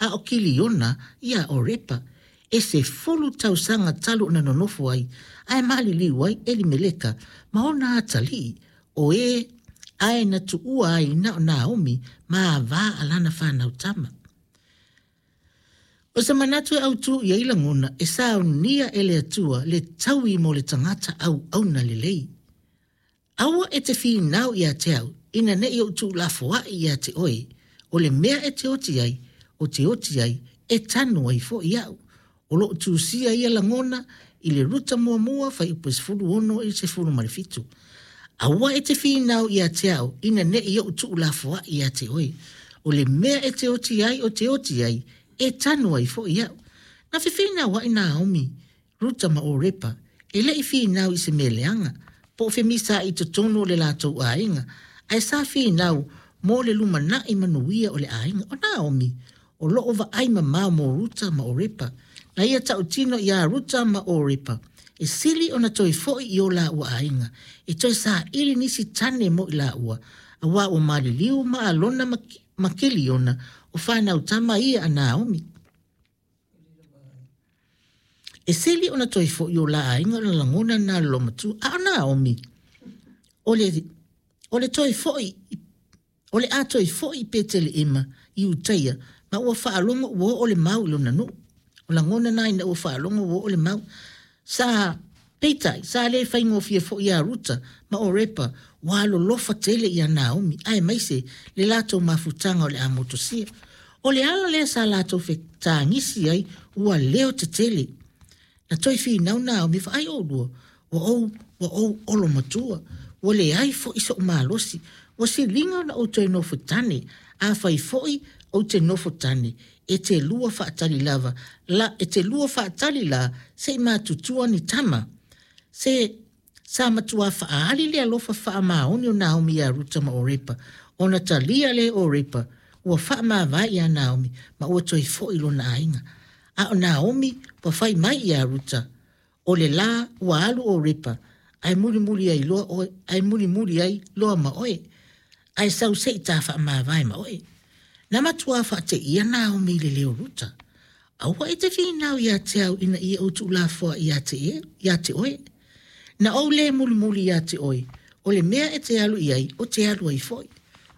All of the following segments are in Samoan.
a o Kiliona iā Orepa. E 10 tausaga talu ona nonofo ai, ae maliliu ai Elimeleka ma ona atalii, o e ae na tuua ai na o Naomi ma avā a lana fanau tama. O se manatu e autū i ai lagona e saunia e le Atua le taui mo le tagata auauna lelei. Aua e te finau ia te au, ina ne i ou tuulafoai ia te oe, o le mea e te oti ai, o te oti ai, e tanu ai foi au. O lo o tusia ia lagona i le Ruta muamua fuaiupu e 16 i le 17. Aua e te finau ia te au, ina ne i ou tuulafoai ia te oe, o le mea e te oti ai, o te oti ai, e tanu ai foi au. Na fefinauai Naomi Ruta ma Orepa, e le i finau i se mea leaga, po o femisaai i totonu o le latou aiga, ae sa finau mo le lumanai manuia o le aiga. O Naomi, o lo o vaai mamao mo Ruta ma Orepa. Na ia tautino iā Ruta ma Orepa, e sili ona toe foi i o lāua aiga, e toe saili nisi tane mo i lāua, auā ua maliliu ma Alona ma Keliona, o fanau tama ia a Naomi. E sili ona toe foi o la aiga o le lagona na le lomatua. A o Naomi, o le, o le toe foi, o le a toe foi i Peteleema i Utaia, ma ua faalogo ua oo le mau i lona nuu. O lagona na ina ua faalogo ua oo le mau. Sa, peitai, sa le faigofie foi iā Ruta ma Orepa, ua alolofa tele iā Naomi, aemaise le latou mafutaga o le a motosia. O le ala lea sa latou fetagisi ai ua leo tetele. Na toe finau Naomi, Vaai oulua, ua ou, ua ou olo matua, ua leai foi so'u malosi, ua siliga ona ou toe nofo tane, afai foi ou te nofo tane, e te lua faatali lava la, e te lua faatali la se i matutua ni tama. Se, sa matuā faaali le alofa faamaoni o Naomi iā Ruta ma Orepa, ona talia lea e Orepa, ua faamavae iā Naomi ma ua toe foi i lona aiga. A o Naomi ua fai mai iā Ruta, O le lā ua alu ʻo Repa, ae mulimuli ai loa ʻoe, ae mulimuli ai loa ma ʻoe, ae sau se i ta faamavae ma ʻoe. Na matuā faateia Naomi i le leo Ruta. Aua e te finau iā te au ina ia ou tuulafoai iā te, iā te ʻoe. Na ou lē mulimuli iā te ʻoe, o le mea e te alu i ai, o te alu ai foi.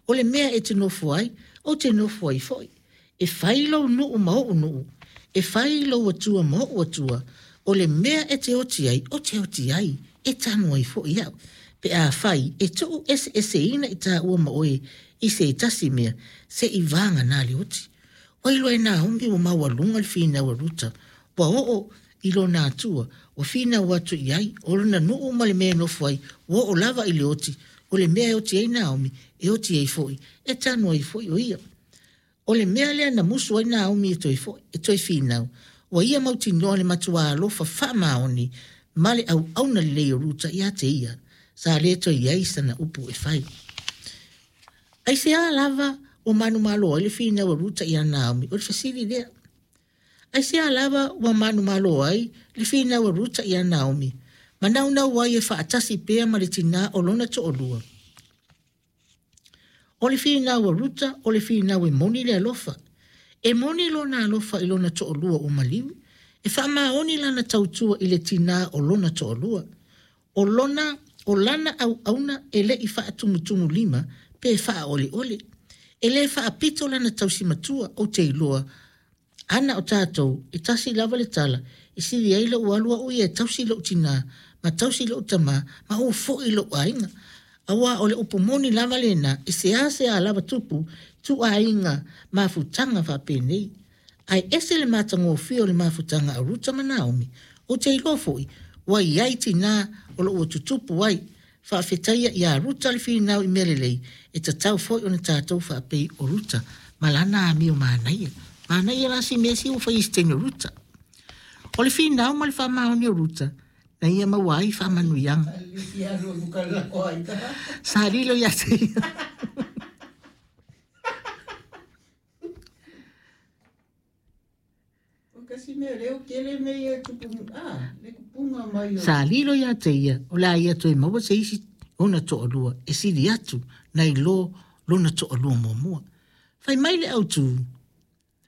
O le mea e te nofo ai, ou te nofo ai foi. E fai lou nuu ma oʻu nuu, e fai lou Atua ma oʻu Atua, o le mea e te oti ai, o te oti ai, e tanu ai foi au. Pe afai e tuu eseeseina i tāua ma oe i se tasi mea, se i vāgana le oti. Ua iloa e Naomi ua maualuga le finau a Ruta, ua oo i lona Atua, ua finau atu i ai, o lona nuu ma le mea e nofo ai, ua oo lava i le oti, o le mea e oti ai Naomi, e oti ai foi, e tanu ai foi o ia. O le mea lea na musu ai Naomi e toe foi, e toe finau, ua ia mautinoa le matuā alofa faamaoni ma le auauna lelei o Ruta iā te ia, sa le toe i ai sana upu e fai. Aisea lava ua manumalo ai le finau a Ruta iā Naomi? O le fesili lea. Aisea lava ua manumalo ai le finau a Ruta iā Naomi, ma naunau ai e faatasi pea ma le tinā o lona toalua? O le finau a Ruta, o le finau e moni le alofa. E moni lona alofa i lona toalua ua maliu, e faamaoni lana tautua i le tinā o lona toalua. O lona, o lana auauna e le i faatumutumulima pe faaoleole. E le faapito lana tausi matua, ou te iloa, Ana o tatou, e tasi lava le tala, e sili ai lou alu au ia e tausi lou tinā, ma tausi lou tamā, ma ou foi i lou aiga. Auā o le upu moni lava lena, e seasea lava tupu ituaiga mafutaga faapenei. Ae ese le matagofie o le mafutaga a Ruta ma Naomi. Ou te iloa foi, ua i ai tinā o lo ua tutupu ai Faafetaia iā Ruta le finau i mea lelei, e tatau foi ona tatou faapei o Ruta ma lana amio manaia. Manaia la si mea sia ua fai i se taimi o Ruta. O le finau ma le faamaoni o Ruta, na ia maua ai faamanuiaga. Sa lilo ia te ia. Sa lilo ia te ia, o le a ia toe maua se isi ona toalua e sili atu nai lo lona toalua muamua. Fai mai le autū,